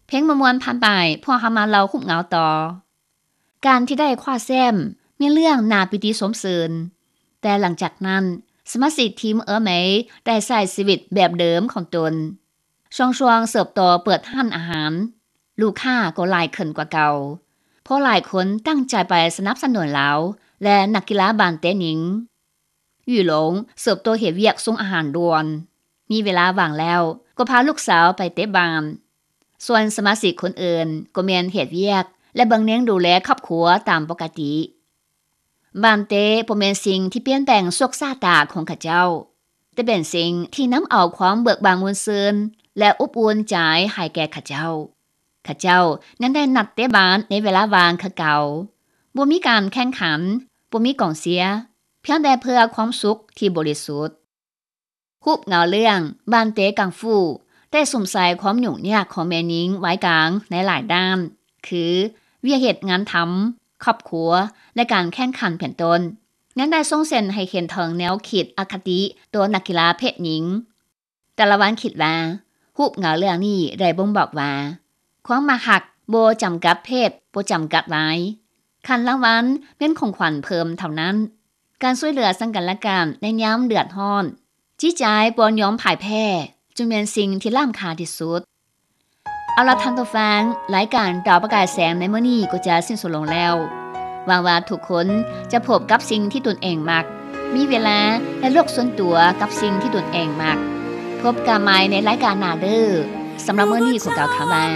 ເພງມ່ວນໆຜ່ານໄປ, ພວກເຮົາມາເລົ່າຮູບເງົາຕໍ່. ການທີ່ໄດ້ຄວ້າແຊ້ມແມ່ນເລື່ອງໜ້າປີຕິຊົມຊື່ນ, ແຕ່ຫຼັງຈາກນັ້ນ, ສະມາຊິກທີມເອີເມຍໄດ້ໃຊ້ຊີວິດແບບເດີມຂອງຕົນ. ຊອງຊວງເຕີບໂຕເປີດຮ້ານອາຫານ, ລູກຄ້າກໍຫຼາຍຂຶ້ນກວ່າເກົ່າ, ເພາະຫຼາຍຄົນຕັ້ງໃຈໄປສະໜັບສະໜູນລາວ ແລະ ນັກກິລາບານເຕະຍິງ. ຢູ່ຫຼົງເຕີບໂຕເຮັດວຽກສົ່ງອາຫານດ່ວນ, ມີເວລາວ່າງແລ້ວກໍພາລູກສາວໄປເຕະບານ. ສ່ວນສະມາຊິກຄົນອື່ນກໍແມ່ນເຮັດວຽກ ແລະ ເບິ່ງແຍງດູແລຄອບຄົວຕາມປົກກະຕິ. ບານເຕະບໍ່ແມ່ນສິ່ງທີ່ປ່ຽນແປງໂຊກຊາຕາຂອງເຂົາເຈົ້າ, ແຕ່ເປັນສິ່ງທີ່ນຳເອົາຄວາມເບີກບານມ່ວນຊື່ນ ແລະ ອົບອຸ່ນໃຈໃຫ້ແກ່ເຂົາເຈົ້າ. ເຂົາເຈົ້າຍັງໄດ້ນັດເຕະບານໃນເວລາວ່າງຄືເກົ່າ. ບໍ່ມີການແຂ່ງຂັນ, ບໍ່ມີກອງເຊຍ, ພຽງແຕ່ເພື່ອຄວາມສຸກທີ່ບໍລິສຸດ. ຮູບເງົາເລື່ອງ ບານເຕະກັງຟູ ໄດ້ສຸມໃສ່ຄວາມຫຍຸ້ງຍາກຂອງແມ່ຍິງວັຍກາງໃນຫຼາຍດ້ານ, ຄື ວຽກເຮັດງານທຳ, ຄອບຄົວ ແລະ ການແຂ່ງຂັນເປັນຕົ້ນ. ຍັງໄດ້ສົ່ງເສັນໃຫ້ເຫັນເຖິງແນວຄິດອະຄະຕິຕໍ່ນັກກິລາເພດຍິງ. ຕາລະວັນຄິດວ່າ, ຮູບເງົາເລື່ອງນີ້ໄດ້ບົ່ງບອກວ່າ, ຄວາມມັກຮັກບໍ່ຈຳກັດເພດ, ບໍ່ຈຳກັດວັຍ. ຂັ້ນລາງວັນແມ່ນຂອງຂວັນເພີ່ມເທົ່ານັ້ນ. ການຊ່ວຍເຫຼືອເຊິ່ງກັນແລະກັນໃນຍາມເດືອດຮ້ອນ, ຈິດໃຈບໍ່ຍອມພ່າຍແພ້, ຈຶ່ງແມ່ນສິ່ງທີ່ລ້ຳຄ່າທີ່ສຸດ. ເອົາລະທ່ານຜູ້ຟັງ, ລາຍການດາວປະກາຍແສງໃນມື້ນີ້ກໍຈະສິ້ນສຸດລົງແລ້ວ. ຫວັງວ່າທຸກຄົນຈະພົບກັບສິ່ງທີ່ຕົນເອງມັກ, ມີເວລາ ແລະ ໂລກສ່ວນຕົວກັບສິ່ງທີ່ຕົນເອງມັກ. ພົບກັນໃໝ່ໃນລາຍການໜ້າເດີ້. ສຳລັບມື້ນີ້ຂໍກ່າວຄຳວ່າ